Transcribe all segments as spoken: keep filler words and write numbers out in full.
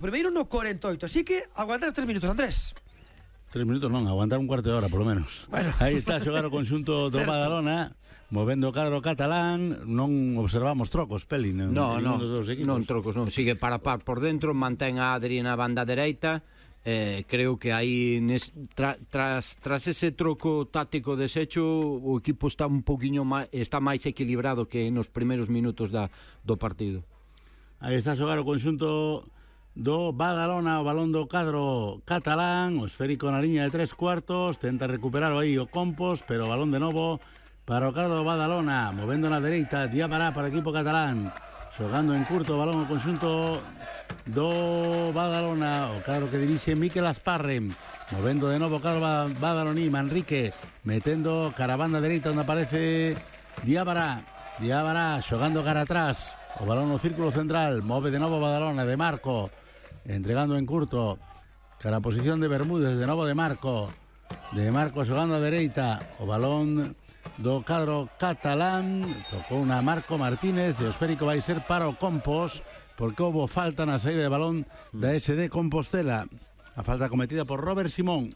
Primeiro no cuarenta y ocho, así que aguantar tres minutos, Andrés. Tres minutos non, aguantar un cuarto de hora, por lo menos. Bueno. Aí está a xogar o conxunto do Badalona, movendo o cadro catalán. Non observamos trocos, Peli, non, no, no, dos equipos. non trocos, non, sigue para par por dentro, mantén a Adri na banda dereita. Eh, creo que aí nes, tra, tras, tras ese troco táctico deshecho, o equipo está un poquinho máis, está máis equilibrado que nos primeiros minutos da, do partido. Aí está a xogar o conxunto do Badalona, o balón do cadro catalán, o esférico na liña de tres cuartos, tenta recuperar aí o Compos, pero o balón de novo para o cadro do Badalona, movendo na dereita, Diabará para o equipo catalán, xogando en curto o balón o conxunto do Badalona, o cadro que dirixe Mikel Asparren, movendo de novo o cadro badaloní, Manrique metendo caravana dereita onde aparece Diabará, Diabará xogando cara atrás, o balón no círculo central, move de novo Badalona, de Marco, entregando en curto, cara a posición de Bermúdez, de novo de Marco, de Marco xogando a dereita, o balón do cadro catalán, tocou na Marco Martínez, e o esférico vai ser para o Compos, porque houve falta na saída de balón da S D Compostela, a falta cometida por Robert Simón,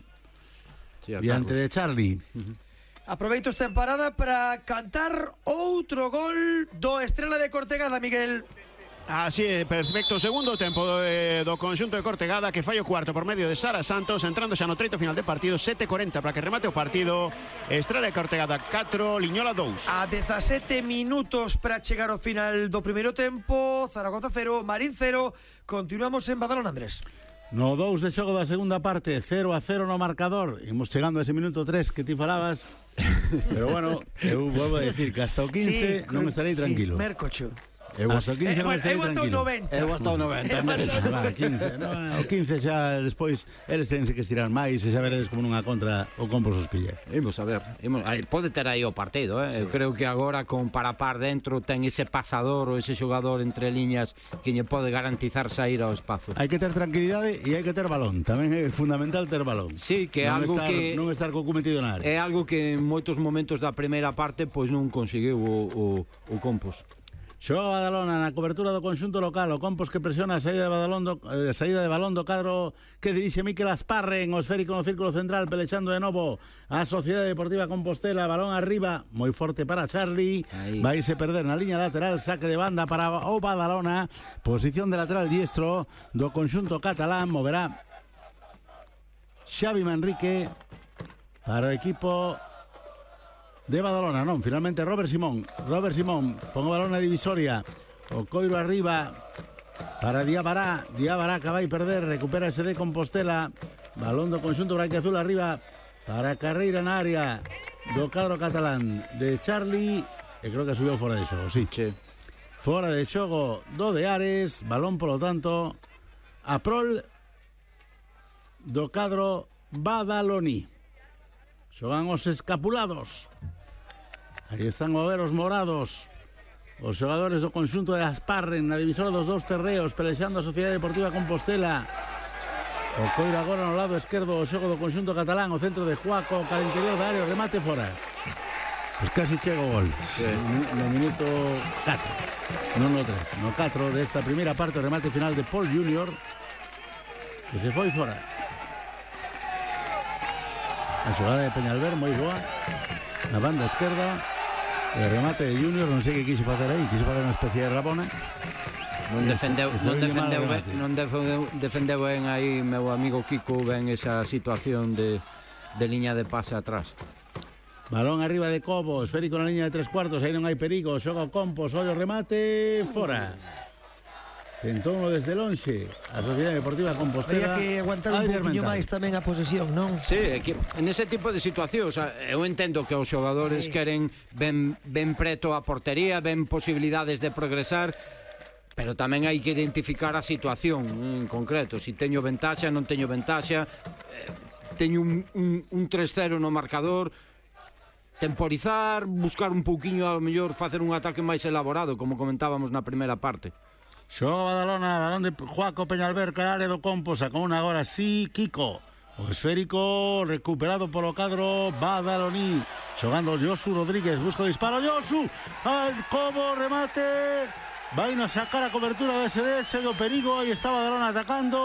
sí, diante de Charlie. Uh-huh. Aproveito esta parada para cantar outro gol do Estrela de Cortegada, Miguel. Así é, perfecto, segundo tempo do, eh, do conxunto de Cortegada, que fai o cuarto por medio de Sara Santos, entrando xa no treito final de partido, sete cuarenta para que remate o partido. Estrela de Cortegada catro, Liñola dous. A dezasete minutos para chegar ao final do primeiro tempo, Zaragoza cero, Marín cero. Continuamos en Badalona, Andrés. No dous de xogo da segunda parte, cero a cero no marcador. Imos chegando a ese minuto tres que ti falabas. Pero bueno, eu volvo a decir que hasta o quince sí, non estarei tranquilo. Sí, Mercocho. Eu hasta o quince non estarei tranquilo. Eu hasta o noventa. Ah, quince, no, o quince xa despois eles tense que estirar máis e xa veredes como nunha contra o Compos os pilla. Imos a ver, imos, aí, pode ter aí o partido, eh? Sí. Eu creo que agora con para par dentro ten ese pasador ou ese xogador entre liñas que lle pode garantizar sair ao espazo. Hai que ter tranquilidade e hai que ter balón. Tamén é fundamental ter balón. Sí, que é algo estar, que non estar co cometido na área. É algo que en moitos momentos da primeira parte pois non conseguiu o, o, o Compos. Xoga Badalona na cobertura do conxunto local, o Compos que presiona a saída de balón do, eh, saída de balón do cadro que dirixe Mikel Asparren, o esférico no círculo central, pelexando de novo a Sociedade Deportiva Compostela, balón arriba, moi forte para Charlie, aí vai se perder na liña lateral, saque de banda para o Badalona, posición de lateral diestro do conxunto catalán, moverá Xavi Manrique para o equipo de Badalona, non, finalmente Robert Simón Robert Simón, pon o balón na divisoria, o coiro arriba para Diabará, Diabará que vai perder, recupera ese de Compostela, balón do conxunto branquiazul arriba para Carreira na área do cadro catalán de Charlie, e creo que subiu fora de xogo, sí, sí. Fora de xogo do de Ares, balón polo tanto a prol do cadro badaloní. Xogan os escapulados. Aí están a ver os morados, os xogadores do conxunto de Asparren na divisora dos dous terreos, pelexando a Sociedade Deportiva Compostela. O coiro agora no lado esquerdo o xogo do conxunto catalán, o centro de Juaco, cara interior da área, o remate fora. Pois casi chega o gol, sí. no, no minuto catro, non no tres, no catro desta primeira parte, o remate final de Paul Junior, que se foi fora. A xogada de Peñalver moi boa na banda esquerda, e o remate de Junior non sei que quixo facer aí, quixo facer unha especie de Rabona. Non defendeu, ese, non defendeu ben, non defendeu, defendeu ben aí meu amigo Kiko ben esa situación de, de liña de pase atrás. Balón arriba de Cobo, esférico na liña de tres cuartos, aí non hai perigo, xoga o Compos, ollo remate, fora. Tentou desde lonxe a Sociedade Deportiva Compostela. Había que aguantar un poquinho máis tamén a posesión, non? Sí, é que en ese tipo de situacións eu entendo que os xogadores sí. queren ben, ben preto a portería, ben posibilidades de progresar, pero tamén hai que identificar a situación en concreto, si teño ventaxa, non teño ventaxa, teño un, un, un tres cero no marcador, temporizar, buscar un pouquiño, a lo mellor facer un ataque máis elaborado, como comentábamos na primeira parte. Xoga Badalona, balón de Juaco Peñalver, cara área do Compos, sacou unha agora sí, Kiko. O esférico recuperado polo cadro badaloní. Xogando Josu Rodríguez, busca o disparo, Josu, al Cobo, remate. vai nos sacar a cobertura de S D, segue o perigo, aí está Badalona atacando.